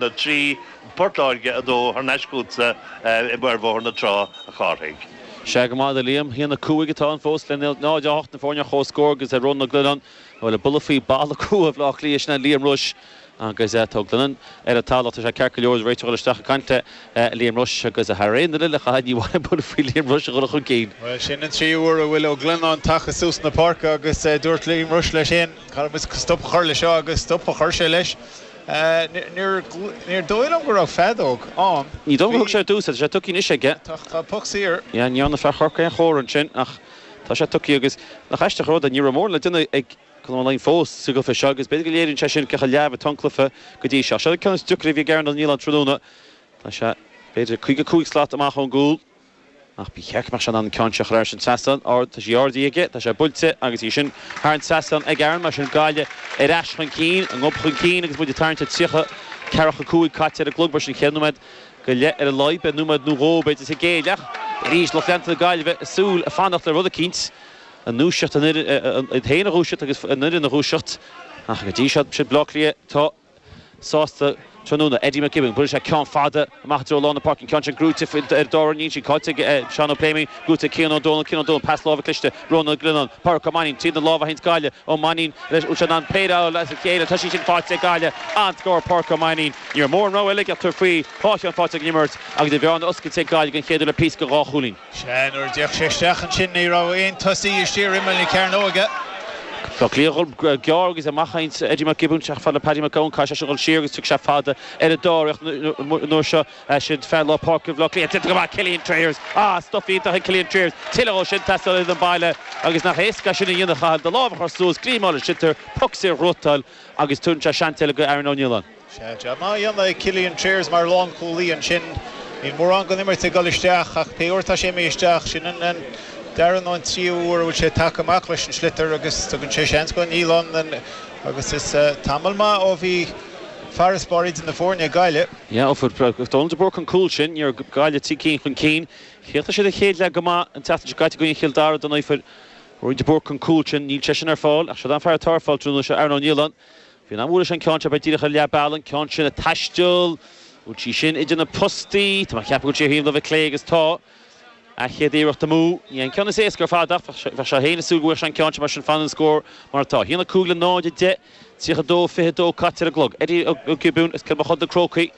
Allen 3, Port Láirge 2, thar n-ais chugatsa ar Bhóthar na Trá, a Chárthaigh. Sea go maith, a Liam. 1-5 atá ann fós le 0-8 na foirne ar comhscór agus Rónán Ó Glionnáin a bhfuil ag bualadh faoi balla crua Bhaile Átha Cliath, sin é Liam Rushe agus tá Ó Glionnáin ar an talamh. Tá sé ceart go leor, réiteoir ag dul isteach ag caint le Liam Rushe agus thar aon duine eile, ní mhaith liom bualadh faoi Liam Rushe a dhul chun cinn. Bhuel, sin an tríú huair a bhfuil Ó Glionnáin tagtha suas na páirce agus dúirt Liam Rushe leis féin, caithfidh muid stop a chur leis seo agus stop a chuir sé leis. Níor dóigh liom go raibh feadóg ann. Ní dóigh liom gur thug sé ar dtús é, tá sé tugtha anois aige. Tá poc saor. Yeah, ní dhearna fear Chorcaí aon chomhartha ansin ach tá sé tugtha agus nach aisteach an rud é, ní raibh mórán le déanamh ag Conor Ó Laighin fós sa gcluiche seo agus b'fhéidir go léiríonn sé sin cé chomh leamh atá an cluiche go dtí seo. Seo an ceann is deacra a bhí ag Aaron Ó Nialláin tráthnóna. Tá sé b'fhéidir 55 slat amach ón gcúl. Ach ba cheart go mbeadh sé in ann an ceann seo a chur thar an trasnán. Ard, tá sí ardaithe aige, tá sé buailte agus í sin thar an trasnán ag Aaron, mar sin Gaillimh ar ais chun cinn, a ngob chun cinn agus muid ag tarraingt ar 30, ceathracha 5 caite ar an gclog, mar sin chéad nóiméad go leith ar a laghad, beidh nóiméad nó dhó b'fhéidir sa gcéile ach arís lucht leanta na Gaillimhe ag súil ag fanacht le rud eicínt a ndúiseacht, an fhoireann, iad féin a dhúiseacht agus an fhoireann a dhúiseacht ach go dtí seo, siad Baile Átha Cliath atá. sásta tráthnóna. Eddie McGibbon, buaileann sé ceann fada amach i dtreo lár na páirce, an ceann sin gnóite ar dár níl sí caillte ag Seán Ó Pléimionn, gnóite ag Cian Ó Dónaill, Cian Ó Dónaill, pas láimhe cliste, Rónán Ó Glionnáin, Pádraic Ó Mainnín, tríd na lámha a théanns Gaillimh, Ó Mainnín leis, bhfuil sé in ann péire a fháil as a chéile, tá sí sin faighte ag Gaillimh, an-scór Pádraic Ó Mainnín, ní raibh mórán rogha eile aige ach tabhairt faoi, dhá cheann faighte ag an imirt agus an bhearna oscailte ag Gaillimh den chéad uair le píosa go dhá chúilín. Sea, nuair a d'fhéach sé isteach ansin ní raibh aon tosaí istigh ar imeall na cearnóige. Bleá Cliath ag dul gearr agus amach ag Eddie McGibbon, isteach fad le Paddy McGowan, caithfidh sé sin dul siar agus tiocfaidh sé fada ar an dá réidh an uair seo. Sin fear lár páirce Bhaile Átha Cliath. Déanta go maith, Killian Trayers. Ah, stuif iontach ag Killian Trayers. Tuilleadh dhó sin teastáil ar an baile agus nach éasca é sin a dhéanamh, Cathal. Do lámh a chur suas, glíomáil an sliotar, poc saor a ghnóthachtáil agus tugann sé seans eile go Aaron Ó Nialláin. Sea, jab maith á dhéanamh ag Killian Trayers mar lánchúlaí ansin. Níl mórán den imirt ag dul isteach ach pé uair atá sé imithe isteach, sin an dara nó an tríú huair a bhfuil sé tagtha amach leis an sliotar agus tugann sé seans go Niallán agus is tamall maith ó bhí farasbarr idir na foirne ag Gaillimh. Yeah, ó fuair Dónal de Búrca an cúl sin, ní raibh Gaillimh trí cinn chun cinn. Chríochnaigh siad an chéad leath go maith an tseachtain seo caite i gcoinne Chill Dara don Fuair de Búrca an cúl sin, níl sé sin ar fáil ach siod an fear atá ar fáil tráthnóna seo, Aaron Ó Nialláin. Bhí an am leis an ceann seo, beidh díreach ar leath bealaigh, an ceann sin ag taisteal, bhfuil sí sin idir na postaí, tá mé ag ceapadh go bhfuil sí ar thaobh na láimhe clé agus tá. A chéad iarracht amú. Ní an ceann is éasca ar fad ach bheadh sé féin ag súil go bhfaigheadh sé an ceann seo mar sin fanann an scór mar atá. 1, 5 le 0, 10, 32, 22 caite ar an gclog. Eddie Ó Giobúin as Cill Mochuda na Crócaigh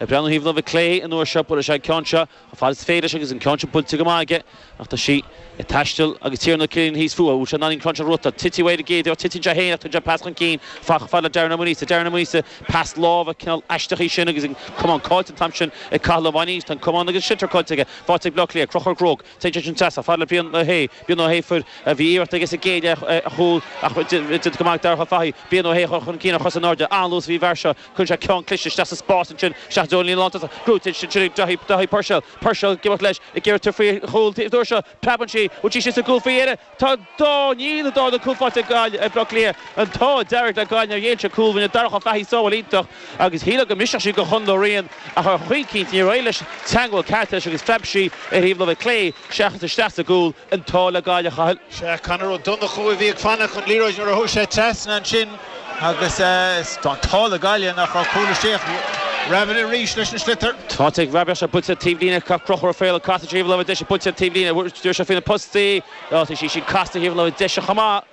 ag breathnú thaobh na láimhe clé an uair seo, buailfidh sé an ceann seo. Chomh fada is féidir leis agus an ceann sin buailte go maith aige ach tá sí ag taisteal agus Tiernan Ó Cillian thíos fúithi. Bhfuil sé in ann an ceann seo a ghnóthachtáil? Titfidh uaidh ar an gcéad iarracht, titeann sé féin ach tugann sé pas chun cinn chomh fada le Darren Ó Maonaosa. Darren Ó Maonaosa, pas láimhe cineál aisteach í sin agus an camán caillte an t-am sin ag Cathal Ó Mainnín. Tá an camán agus an sliotar caillte aige. Faighte ag Bleá Cliath. Conchúr Grogue. Téann sé sin trasna chomh fada le Brian Ó hAodha. Brian Ó hAodha fuair, bhí iarracht aige sa gcéad leath ar chúl ach déanta go maith ag Darach Ó Fathaigh. Brian Ó hAodha chun cinn ar chos in airde. An-luas a bhí an bhfear seo. Cuireann sé ceann cliste isteach sa spás ansin, isteach i dtreo an líne lántosach. Gnóite ansin ag Daithí, Daithí Purcell. Purcell ag imeacht leis, ag iarraidh tabhairt faoi chúl an uair seo. Preabann sí, bhfuil sí istigh sa gcúl faoi dheireadh? Tá dá, níl an dá na cúl faighte ag Gaillimh, ag Bleá Cliath. An t-ádh dearg le Gaillimh nár ghéill siad cúl. Rinne Darach Ó Fathaigh sábháil iontach agus shílfeá go mbrisfeadh sí go Chonall Ó Riain ach ar chaoi eicínt níor éirigh leis teagmháil ceart leis agus phreab sí ar thaobh láimhe clé seachas isteach sa gcúl. An t-ádh le Gaillimh, a Chathail. Sea, Conor Ó Donnchú a bhí ag fanacht an liathróid nuair a chuaigh sé trasna ansin agus tá an t-ádh le Gaillimh nach raibh cúl istigh. Rabbitte arís leis an sliotar. Tá ag Rabbitte sé buailte taobh líne Conchúr Ó Faoláin caite taobh láimhe deise buailte taobh líne dúirt sé faoi na postaí. Tá sí sin casta thaobh láimhe deise chomh maith.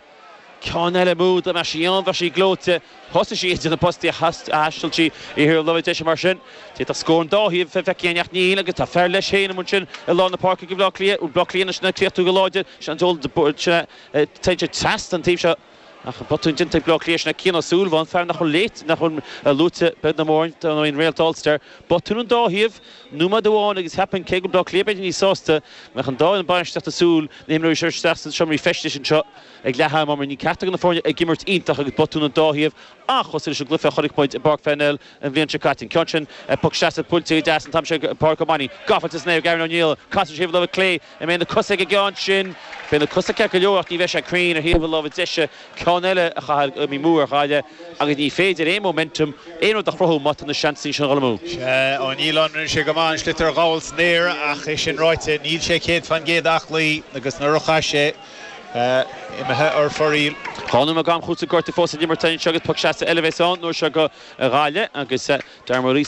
Ceann eile amú dá mbeadh sí ann bheadh sí gleoite. Thosaigh sí idir na postaí ach thaistil sí i thaobh láimhe deise mar sin. D'fhéadfadh scór an dá thaobh a bheith ann ach níl agus tá fear leis féin amuigh ansin i lár na páirce ag Bleá Cliath. Bleá Cliath anois ag críochnú go láidir. Sin an t-eolas téann sé trasna an taobh seo. Ach botún déanta ag Bleá Cliath, sin é Cian Ó Súilleabháin, fear nach bhfuil léite, nach bhfuil luaite beag ná mór don fhoireann Réalta Ulster. Botún an dá thaobh, nóiméad amháin agus cheapfainn, cé go bhfuil Bleá Cliath b'fhéidir níos sásta, go mbeadh an dá fhoireann bainistíochta ag súil na himreoirí seo isteach sna seomraí feistis anseo ag leath ama mar ní ceachtar de na foirne ag imirt iontach agus botún an dá thaobh an-chosúil leis an gcluiche a chonaic muid i bPáirc Pharnell an bhliain seo caite. An ceann sin, poc seasta buailte go deas an t-am sin ag Pádraig Ó Mainnín. Gafa san aer ag Aaron O'Neill. Casann sé thaobh láimhe clé. An mbeidh na cosa ag an gceann sin? Beidh na cosa ceart go leor ach ní bheidh sé cruinn ar thaobh na láimhe deise. Ceann eile a Chathail imithe amú ar Ghaillimh agus ní féidir aon momentum, aon rud a chruthú má tá na seansanna sin ag dul amú. Sea, Ó Nialláin, rinne sé go maith an sliotar a ghabháil san aer ach é sin ráite, níl sé 100% aclaí agus nuair a chaith sé, imithe ar fóraoil. Dhá nóiméad d'am cúitimh gortaithe fós ag imirt anseo agus poc seasta eile a bheas ann an uair seo do Ghaillimh agus Darren Maurice.